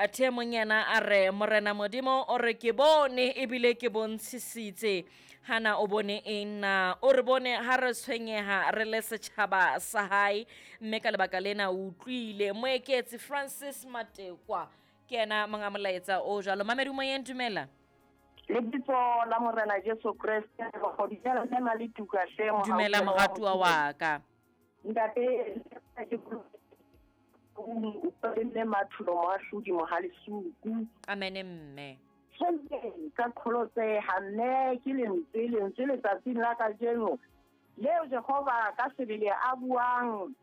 Athe mong yena a re Morena Modimo o re ke bone ebile ke bontshisitse. Hana o bone eng na? O re bone ha re tshwenyeha re le setjhaba sa hae, mme ka lebaka lena o utlwile. Moeketsi Francis Matekwa ke yena monga molaetsa o jwalo. Mamedi moyeng, dumela. Lebitso la Morena Jesu Kreste, dumela mme Maletuka hle. Dumela moratuwa wa ka. Ntate ke mme Mathulo Moahlodi Mohalisuku. Amen mme. Tjhe, ka qholotseha mme ke lentswe lentswe letsatsing la kajeno leo Jehova ka sebele a buang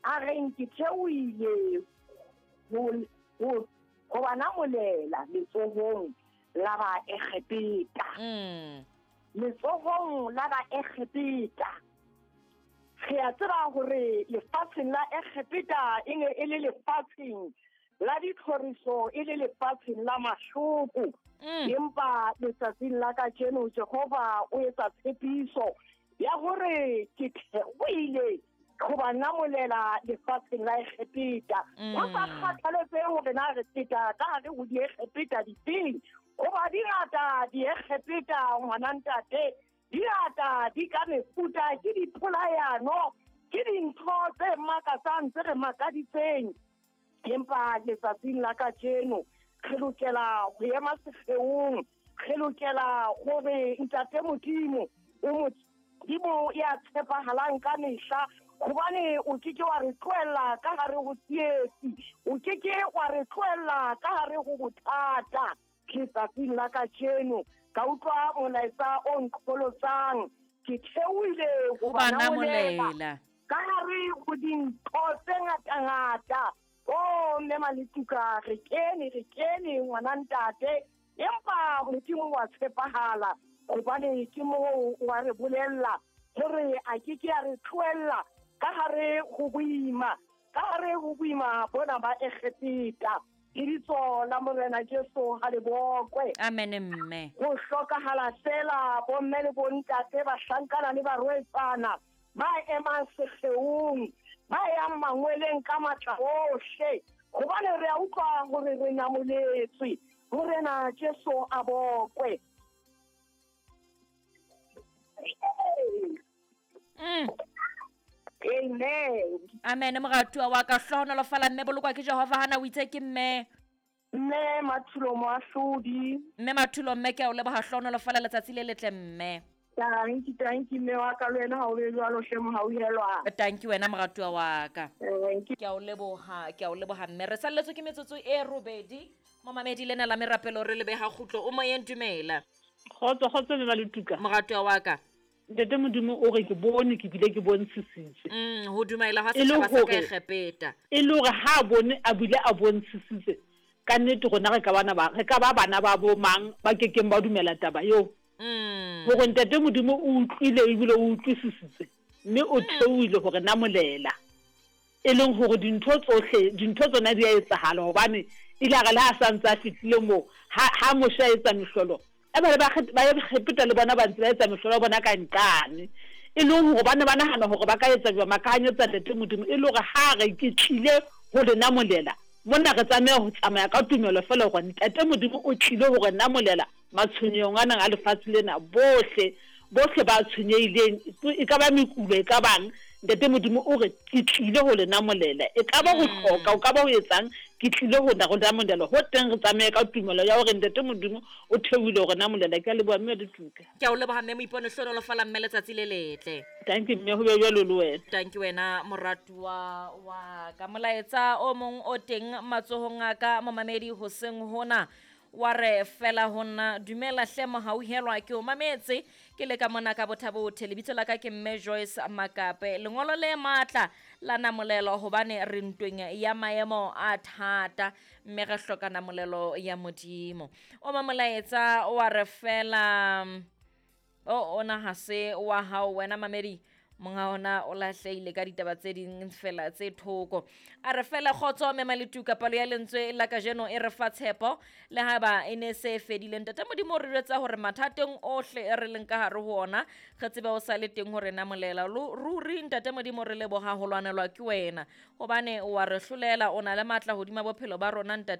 a reng ke theohile ho ba namolela letsohong la ba Egepeta. Letsohong la ba Egepeta. Re a tseba hore lefatsheng la Egepeta e ne e le lefatsheng la ditlhoriso, e le lefatsheng la mahloko. Empa letsatsing la kajeno Jehova o etsa tshepiso ya hore ke theohile ho ba namolela lefatsheng la Egepeta. Ho sa kgathaletsehe hore na re feta ka hare ho diegepeta difeng, hoba di ngata diegepeta ngwana ntate, di ngata di ka mefuta, ke dipolayano, ke dintho tse makatsang tse re makaditseng. Empa letsatsing la kajeno re lokela ho ema sekgeong, re lokela hore ntate Modimo o Modimo ya tshepahalang ka mehla, hobane o ke ke wa re tlohella ka hare ho tsietsi, o ke ke wa re tlohella ka hare ho bothata. Letsatsing la kajeno ka utlwa molaetsa o nqholotsang, ke theohile ho ba ba namolela namolela ka hare ho dintho tse ngatangata. O mme Maletuka, re kene ngwana ntate, empa Modimo wa tshepahala, hobane ke moo wa re bolella hore a ke ke a re tlohella ka hare ho boima, ka hare ho boima bona ba Egepeta. Lebitso la Morena Jesu ha le bokwe. Amen mme. Ho hlokahala fela bomme le bontate, bahlankana le barwetsana ba emang sekgeong, ba yang mangweleng ka matla ohle, hobane re a utlwa hore re namoletswe. Morena Jesu a bokwe. Amen. Amen moratuwa wa ka, hlohonolofala mme, bolokwa ke Jehova. Hana o itse ke mme? Mme Mathulo Moahlodi. Mme Mathulo mme, ke a o leboha, hlohonolofala, letsatsi le letle mme. Tanki, tanki mme wa ka, le wena ha o be jwalo hle mohauhelwa. Tanki wena moratuwa wa ka. Tanki. Ke a o leboha, ke a o leboha mme. Re salletswe ke metsotso e robedi. Momamedi lena la merapelo re lebeha kgutlo. O moyeng, dumela. Kgotso, kgotso mme Maletuka. Moratuwa wa ka. Ntate Modimo o re ke bone, ke bile ke bontshisitse. Ho dumela ha E le setjhaba sa ka hore Egepeta. E le hore ha bone a bile a bontshisitse, ka nnete rona re ka bana ba, re ka ba bana ba bo mang ba kekeng ba dumela taba eo. Hore ntate Modimo o utlwile ebile o utlwisisitse, mme o theohile hore namolela. E leng hore dintho tsohle, dintho tsona di a etsahala, hobane ile a re le ha sa ntse a fihlile moo, ha Moshe a etsa mehlolo, e ba le ba Egepeta le bona ba ntse ba etsa mehlolo ya bona ka nqane. E leng hore ba ne ba nahana hore ba ka etsa jwang, ba ka hanyetsa ntate Modimo. E le hore ha re ke tlile ho le namolela, mona re tlameha ho tsamaya ka tumelo feela hore ntate Modimo o tlile ho re namolela matshwenyehong a nang a lefatshe lena. Bohle, bohle ba tshwenyehileng, e ka ba mekulo, e ka bang, ntate Modimo o re ke tlile ho le namolela. E ka ba ho hloka, o ka ba ho etsang, ke tlile ho na go namolela. Ho teng re tsamaye ka tumelo ya hore ntate Modimo o theohile ho re namolela. Ke a leboha mme Letuka. Ke a o leboha mme Moipone, hlohonolofala mme, letsatsi le letle. Thank you mme, ho be jwalo le wena. Thank you wena moratuwa wa ka. Molaetsa o mong o teng matsohong a ka momamedi hoseng hona wa re fela ho nna, dumela hle mohauhelwa, ke o mametse ke le ka mona ka bothabothe. Lebitso la ka ke mme Joyce Makape. Lengolo le matla la namolelo, hobane re ntweng ya maemo a thata mme re hloka namolelo ya Modimo. O ma molaetsa wa re fela o ona ha se wa hao wena mamedi, monga ona o lahlehile ka ditaba tse ding fela tse thoko. A re fela kgotso mme Maletuka, palo ya lentswe la kajeno e re fa tshepo le haeba e ne se fedile. Ntate Modimo o re jwetsa hore mathateng ohle e re leng ka hare ho ona, re tsebe o sa le teng hore namolela. Ruri ntate Modimo re leboha ho lwanelwa ke wena, hobane wa re hlolela, o na le matla hodima bophelo ba rona ntate.